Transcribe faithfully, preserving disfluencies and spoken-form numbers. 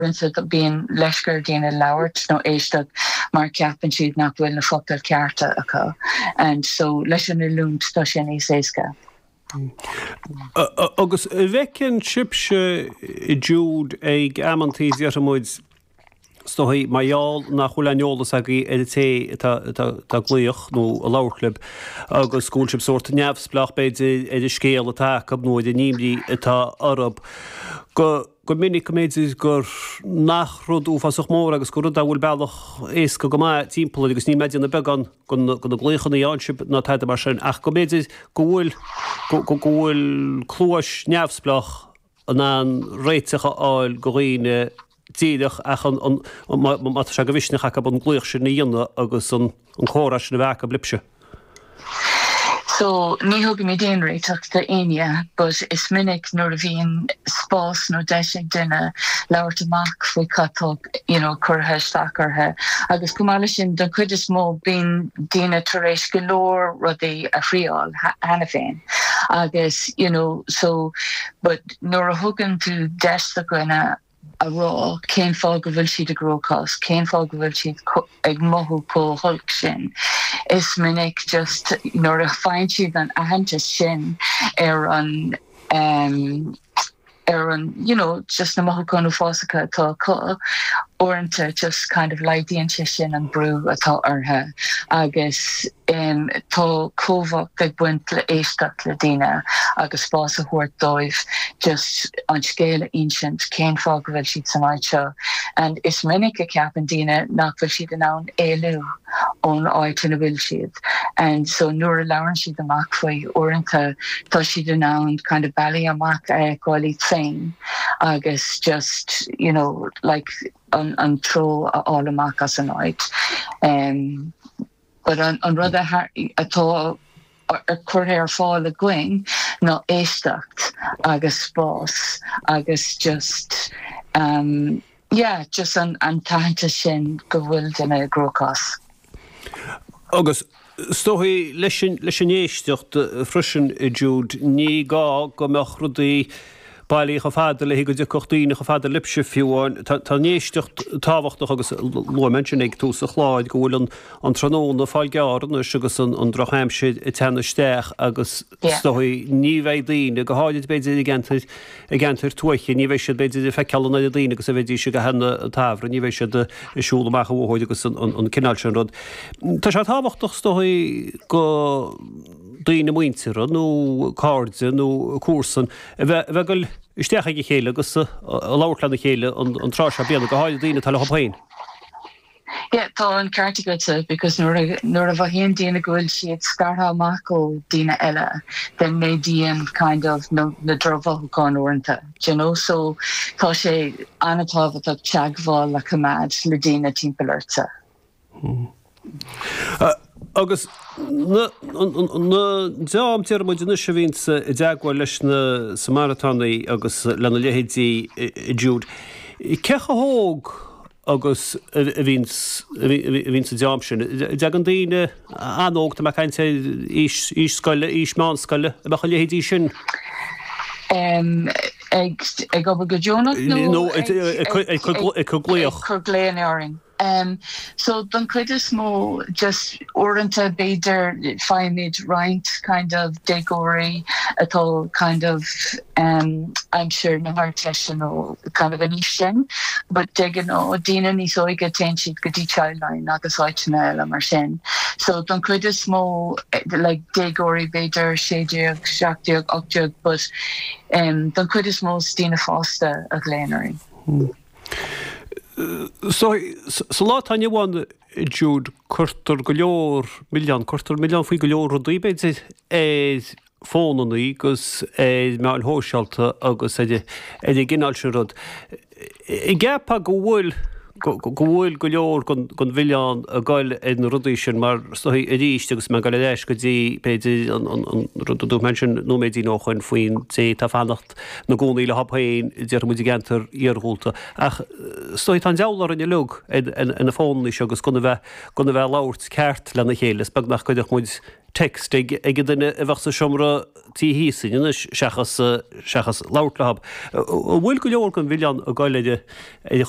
Uaireanta bíonn leisce ar daoine labhairt nó éisteacht mar ceapann siad nach bhfuil na focail cearta acu and so leis an oiliúint tá sé níos éasca. Agus bhfeiceann sibhse Jude ag amantaí déarfaidh muid is dóigh mar gheall nach bhfuil aon eolas agaibh ar an té atá ag glaoch nó ag labhairt libh agus go bhfuil sibh sórt neamhspleách b'fhéidir ar an scéal atá acu nó ar an imní atá orthu. Go go minic go mb'fhéidir gur nach rud uafásach mór agus gur rud a bhfuil bealach éasca go maith timpeall air agus níl mé ag déanamh beagán de na glaochanna a fhaigheann sibh ná tada mar sin ach go mb'fhéidir go bhfuil go bhfuil cluais neamhspleách in ann réiteach a fháil go dhaoine díreach ach an an má tá sé de mhisneach acu an glaoch sin a dhéanamh agus an an comhrá sin a bheith acu libhse. So ní thugaimid aon réiteach d'éinne, but is minic nuair a bhíonn spás nó deis ag duine labhairt amach faoi cad tá you know, curtha isteach orthu. Agus chomh maith leis sin don chuid is mó bíonn daoine tar éis go leor rudaí a thriail cheana féin. Agus you know, so but nuair a thugann tú deis do dhuine a rá cén fáth go bhfuil siad i gcruachás, cén fáth go bhfuil siad ag mothú chomh holc sin. Is minic just nuair a fhaigheann siad an aitheantas sin ar an um, ar an you know, just na mothúcháin uafásacha atá acu uaireanta just kind of laghdaíonn sé sin an brú atá orthu agus um, tá cumhacht ag baint le éisteacht le daoine agus spás a thabhairt dóibh just an scéal a insint cén fáth go bhfuil siad san áit seo and is minic a cheapann daoine nach bhfuil siad in ann éalú ón áit ina bhfuil siad and so nuair a labhrann siad amach faoi uaireanta tá siad in ann kind of bealaí amach a fháil féin agus just you know like an an treo a fháil amach as an áit. Um, but an, an rud atá curtha ar fáil againn ná éisteacht agus spás agus just um, yeah, just an, an t-aitheantas sin go bhfuil duine i gcruachás. Agus is dóigh leis leis an éisteacht freisin Jude ní gá go mbeadh rudaí bailí chomh fada le go dtiocfadh daoine chomh fada libhse fiú amháin tá an éisteacht tábhachtach agus luaigh mé ansin ag tús an chláir go bhfuil an an tráthnóna ag fáil gearr anois agus an an drochaimsir ag teannadh isteach agus is dóigh ní bheidh daoine go háirid b'fhéidir i gceantair i gceantair tuaithe ní bheidh siad b'fhéidir ag feiceáil an oiread daoine agus a bheidís ag an tsamhradh ní bheidh siad ag siúl amach an bhóthair agus an an an cineál sin rud. Tá sé tábhachtach is dóigh go daoine muinteartha nó cairde nó comharsan a bheith a bheith ag dul isteach ag a chéile agus a labhairt lena chéile an an tráth seo bliana go háirid daoine atá leo féin. Yeah, tá an ceart agatsa because nuair nuair a mhothaíonn daoine go bhfuil siad scartha amach ó daoine eile, then méadaíonn kind of na, na drochmhothúcháin uaireanta. You know? So tá sé an-tábhachtach teagmháil a choimeád le daoine timpeall ortsa. Hmm. Uh, agus na dream déarfaidh muid anois a bhíonns i dteagmháil leis na Samaritánaigh agus lena leithéidí Jude. Cé chomh hóg agus a bhíonns a bhíonns sa dream sin? An dtagann daoine an-óg tá mé ag caint ar aois aois scoile, aois meánscoile, a bheadh a leithéidí sin? Um, ag ag obair go deonach nó ag ag cur glaoch. Ag cur glaonna orainn. Um, so don chuid is mó just uaireanta b'fhéidir faighimid roinnt kind of déagóirí atá kind of um, aimsir na hArdteiste nó kind of an aois sin, but de ghnáth daoine níos óige téann siad go dtí Childline agus áiteanna eile mar sin. So don chuid is mó like déagóirí b'fhéidir sé déag, seacht déag, ocht déag, but um, don chuid is mó is daoine fásta a ghlaonn orainn. Hmm. So sa lá atá inniu ann Jude cuirtear go leor milleán, cuirtear milleán faoi go leor rudaí b'fhéidir ar fónannaí agus ar meáin shóisialta agus ar ar an gcineál sin rud. An gceapfá go bhfuil go bhfuil go leor den mhilleán ag goil ar na rudaí sin mar is dóigh arís agus mé ag goil ar ais go dtí b'fhéidir an an rud a dúirt mé ansin nóiméidín ó shoin faoin té atá ag fanacht ina gcónaí leo féin déarfaidh muid i gceantar iarghúlta ach is dóigh tá an deabhal orainn uilig ar na fónannaí seo agus gan a bheith gan a bheith ag labhairt ceart lena chéile is beag nach gcuirfeadh muid text ag ag an duine a bheadh sa seomra taobh thíos anois seachas seachas labhairt leo. An bhfuil go leor den mhilleán ag goil ar ar a